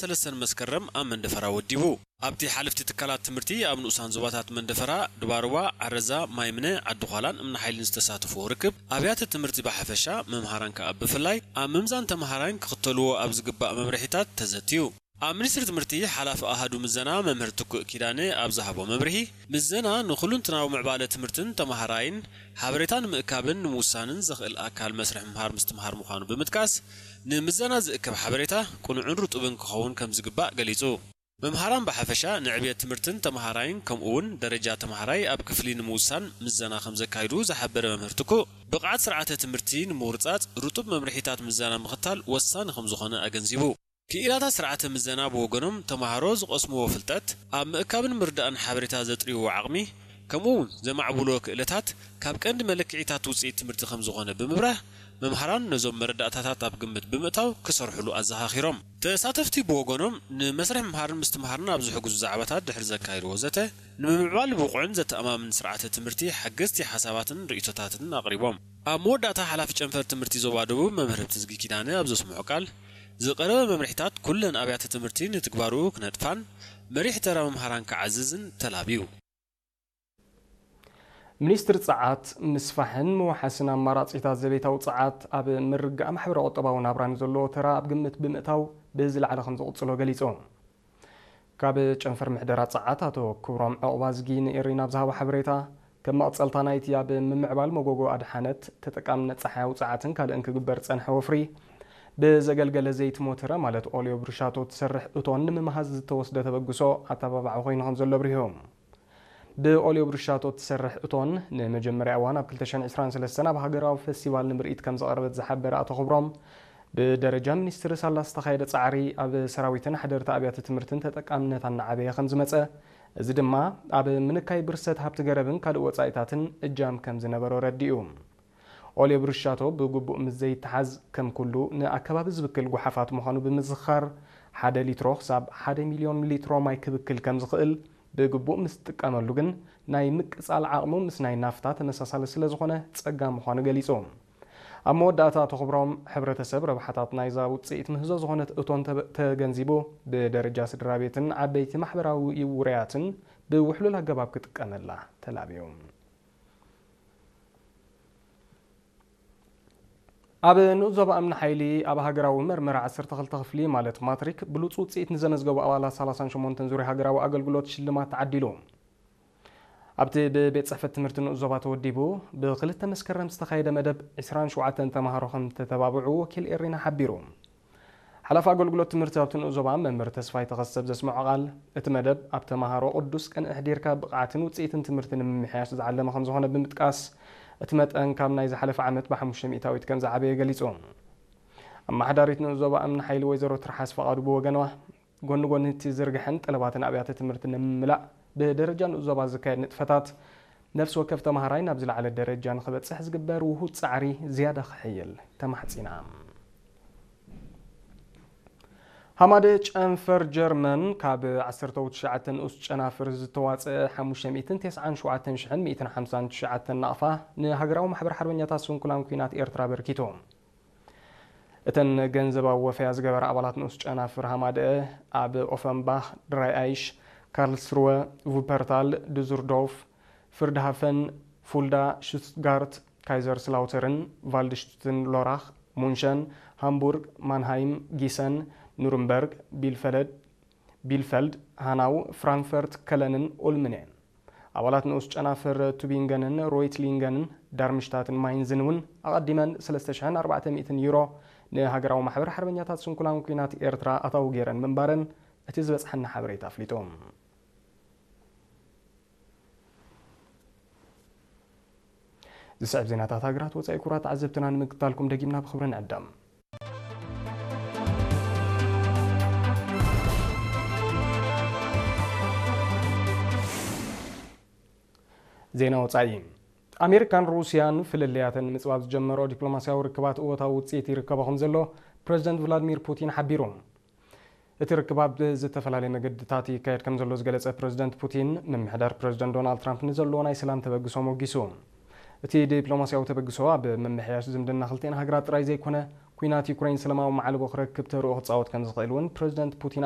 ሰለስተን መስከረም ኣብ መንደፈራ ወዲቡ። ኣብቲ ሓለፍቲ ትካላት ትምህርቲ ኣብ ንኡሳን ዞባታት መንደፈራ፣ ድባርዋ፣ ዓረዛ፣ ማይምነ፣ ዓዲ ዃላን እምኒ ሓይልን ዝተሳተፍዎ ርክብ፣ ኣብያተ ትምህርቲ ብሓፈሻ፣ መምሃራን ከኣ ብፍላይ፣ ኣብ ምምዛን ተምሃራይን ክኽተልዎ ኣብ ዝግባእ መምርሒታት ተዘትዩ። ኣብ ሚኒስትሪ ትምህርቲ ሓላፊ ኣሃዱ ምዘና መምህር ትኩእ ኪዳነ ኣብ ዝሃቦ መብርሂ፣ ምዘና ንኹሉንትናዊ ምዕባለ ትምህርትን ተምሃራይን ሓበሬታ ንምእካብን ንምውሳንን ዘኽእል ኣካል መስርሕ ምምሃር ምስትምሃር ምዃኑ ብምጥቃስ፣ ንምዘና ዝእከብ ሓበሬታ ቅኑዕን ርጡብን ክኸውን ከም ዝግባእ ገሊጹ። መምሃራን ብሓፈሻ ንዕብየት ትምህርትን ተምሃራይን ከምኡ እውን ደረጃ ተምሃራይ ኣብ ክፍሊ ንምውሳን ምዘና ከም ዘካይዱ ዝሓበረ መምህር ትኩእ፣ ብቕዓት ስርዓተ ትምህርቲ ንምውርጻጽ ርጡብ መምርሒታት ምዘና ምኽታል ወሳኒ ከም ዝኾነ ኣገንዚቡ። ክኢላታት ስርዓተ ምዘና ብወገኖም፣ ተምሃሮ ዝቐስምዎ ፍልጠት፣ ኣብ ምእካብን ምርዳእን ሓበሬታ ዘጥርይዎ ዓቕሚ፣ ከምኡ እውን ዘማዕብልዎ ክእለታት ካብ ቀንዲ መለክዒታት ውፅኢት ትምህርቲ ከም ዝኾነ ብምብራህ፣ መምሃራን ነዞም መረዳእታታት ኣብ ግምት ብምእታው ክሰርሕሉ ኣዘኻኺሮም። ተሳተፍቲ ብወገኖም፣ ንመስርሕ ምምሃርን ምስትምሃርን ኣብ ዝሕግዙ ዛዕባታት ድሕሪ ዘካየድዎ ዘተ፣ ንምምዕባል ብቑዕን ዘተኣማምን ስርዓተ ትምህርቲ ሓገዝቲ ሓሳባትን ርእይቶታትን ኣቕሪቦም። ኣብ መወዳእታ፣ ሓላፊ ጨንፈር ትምህርቲ ዞባ ደቡብ መምህር ህብትዝጊ ኪዳነ ኣብ ዘስምዖ ቃል፣ ዝቐረበ መምርሒታት ኩለን ኣብያተ ትምህርቲ ንትግባርኡ ክነጥፋን መሪሕ ተራ መምሃራን ክዓዝዝን ተላብዩ። ሚኒስትሪ ጸዓት፣ ምስፋሕን ምውሓስን ኣማራጺታት ዘቤታዊ ጸዓት ኣብ ምርግጋእ ማሕበረ-ቁጠባዊ ናብራ ንዘለዎ ተራ ኣብ ግምት ብምእታው ብዝለዓለ ከም ዝቕጽሎ ገሊጹ። ካብ ጨንፈር ምሕደራ ጸዓት ኣቶ ክብሮም ዑቕባዝጊ ንኤሪና ኣብ ዝሃቦ ሓበሬታ፣ ከም መቐጸልታ ናይቲ ኣብ ምምዕባል መጎጎ ኣድሓነት፣ ተጠቃምነት ጸሓያዊ ጸዓትን ካልእን ክግበር ዝጸንሐ ወፍሪ፣ ብዘገልገለ ዘይቲ ሞተረ ማለት ኦልዮ ብሩሻቶ እትሰርሕ እቶን ንምምሃዝ ዝተወስደ ተበግሶ ኣተባባዒ ኮይኑ ከም ዘሎ ኣብሪሁ። ብኦልዮ ብሩሻቶ እትሰርሕ እቶን ንመጀመርያ እዋን ኣብ ክልተ ሽሕን ዕስራን ሰለስተን ኣብ ሃገራዊ ፈስቲቫል ንምርኢት ከም ዝቐረበት ዝሓበረ ኣቶ ክብሮም፣ ብደረጃ ሚኒስትሪ ሳላ ዝተኻየደ ጻዕሪ ኣብ ሰራዊትን ሓደርቲ ኣብያተ ትምህርትን ተጠቃምነት እናዓበየ ከም ዝመጸ፣ እዚ ድማ ኣብ ምንካይ ብርሰት ሃብቲ ገረብን ካልእ ወጻኢታትን እጃም ከም ዝነበሮ ረዲኡ። ኦልዮ ብሩሻቶ ብግቡእ ምስ ዘይተሓዝ፣ ከም ኩሉ ንኣከባቢ ዝብክል ጓሓፋት ምዃኑ ብምዝኻር፣ ሓደ ሊትሮ ክሳብ ሓደ ሚልዮን ሊትሮ ማይ ክብክል ከም ዝኽእል፣ ብግቡእ ምስ ትጥቀመሉ ግን ናይ ምቅጻል ዓቕሙ ምስ ናይ ናፍታ ተመሳሳሊ ስለ ዝኾነ ጸጋም ምዃኑ ገሊጹ። ኣብ መወዳእታ ኣቶ ክብሮም፣ ሕብረተሰብ ረብሓታት ናይዛ ውጽኢት ምህዞ ዝኾነት እቶን ተበ-፣ ተገንዚቡ፣ ብደረጃ ስድራ ቤትን ዓበይቲ ማሕበራዊ ውሩያትን ብውሕሉል ኣገባብ ክጥቀመላ ተላብዩ። ኣብ ንኡስ ዞባ እምኒ ሓይሊ ኣብ ሃገራዊ መርመራ ዓሰርተ ክልተ ክፍሊ ማለት ማትሪክ ብሉጽ ውጽኢት ንዘመዝገቡ ኣባላት ሰላሳን ሸሞንተን ዙርያ ሃገራዊ ኣገልግሎት ሽልማት ተዓዲሉ። ኣብቲ ብቤት ጽሕፈት ትምህርቲ ንኡስ ዞባ ተወዲቡ ብክልተ መስከረም ዝተኻየደ መደብ ዕስራን ሸውዓተን ተምሃሮ ከም ዝተተባብዑ ወኪል ኤሪና ሓቢሩ። ሓላፊ ኣገልግሎት ትምህርቲ ኣብቲ ንኡስ ዞባ መምህር ተስፋይ ተኸስተ ኣብ ዘስምዖ ቃል፣ እቲ መደብ ኣብ ተምሃሮ ቅዱስ ቅንኢ ኣሕዲርካ ብቕዓትን ውጽኢትን ትምህርቲ ንምምሕያሽ ዝዓለመ ከም ዝኾነ ብምጥቃስ፣ እቲ መጠን ካብ ናይ ዝሓለፈ ዓመት ብሓሙሽተ ሚእታዊት ከም ዝዓበየ ገሊጹ። ኣመሓዳሪት ንኡስ ዞባ እምኒ ሓይሊ ወይዘሮ ትርሓስ ፈቓዱ ብወገንዋ፣ ጎኒ ጎኒ እቲ ዝርግሐን ጠለባትን ኣብያተ ትምህርቲ ንምምላእ ብደረጃ ንኡስ ዞባ ዝካየድ ንጥፈታት፣ ነፍሲ ወከፍ ተምሃራይ ናብ ዝለዓለ ደረጃ ንኽበጽሕ ዝግበር ውሁድ ጻዕሪ ዝያዳ ክሕይል ተማሕጺና። ሃማደ ጨንፈር ጀርመን ካብ ዓሰርተ ትሽዓተ ንኡስ ጨናፍር ዝተዋጽአ ሓሙሽተ ሚእትን ተስዓን ሸውዓተን ሽሕን ሚእትን ሓምሳን ትሽዓተን ናቕፋ ንሃገራዊ ማሕበር ሓርበኛታት ስንኩላን ኲናት ኤርትራ ኣበርኪቱ። እተን ገንዘባዊ ወፈያ ዝገበራ ኣባላት ንኡስ ጨናፍር ሃማደአ ኣብ ኦፈንባኽ፣ ድራይ ኣይሽ፣ ካርልስሩወ፣ ቩፐርታል፣ ዱዙርዶርፍ፣ ፍርድሃፈን፣ ፉልዳ፣ ሽቱትጋርት፣ ካይዘርስላውተርን፣ ቫልድሽቱትን፣ ሎራኽ፣ ሙንሸን፣ ሃምቡርግ፣ ማንሃይም፣ ጊሰን፣ ኑርንበርግ፣ ቢልፈለድ፣ ቢልፈልድ፣ ሃናው፣ ፍራንክፈርት፣ ከለንን ኡልምን እየን። ኣባላት ንኡስ ጨናፍር ቱቢንገንን ሮይትሊንገንን ዳርምሽታትን ማይንዝን እውን ኣቐዲመን ሰለስተ ሽሕን ኣርባዕተ ሚእትን ዩሮ ንሃገራዊ ማሕበር ሓርበኛታት ስንኩላን ኲናት ኤርትራ ኣታዊ ገይረን ምንባረን እቲ ዝበጽሓና ሓበሬታ ኣፍሊጡ። ዝስዕብ ዜናታት ሃገራት ወጻኢ ክቡራት ተዓዘብትና ንምክትታልኩም ደጊምና ብኽብሪ ንዕደም። ዜና ወጻኢ። ኣሜሪካን ሩስያን ፍልልያተን ንምጽባብ ዝጀመረኦ ዲፕሎማስያዊ ርክባት እወታዊ ውጽኢት ይርከቦ ከም ዘሎ ፕረዚደንት ቭላድሚር ፑቲን ሓቢሩ። እቲ ርክብ ኣብ ዝተፈላለየ መገድታት ይካየድ ከም ዘሎ ዝገለጸ ፕረዚደንት ፑቲን፣ ምምሕዳር ፕረዚደንት ዶናልድ ትራምፕ ንዘለዎ ናይ ሰላም ተበግሶ ሞጊሱ። እቲ ዲፕሎማስያዊ ተበግሶ ኣብ ምምሕያሽ ዝምድና ክልቲኤን ሃገራት ጥራይ ዘይኮነ፣ ኲናት ዩክሬን ሰላማዊ ማዕልቦ ክረክብ ተርኦ ክጻወት ከም ዝኽእል እውን ፕረዚደንት ፑቲን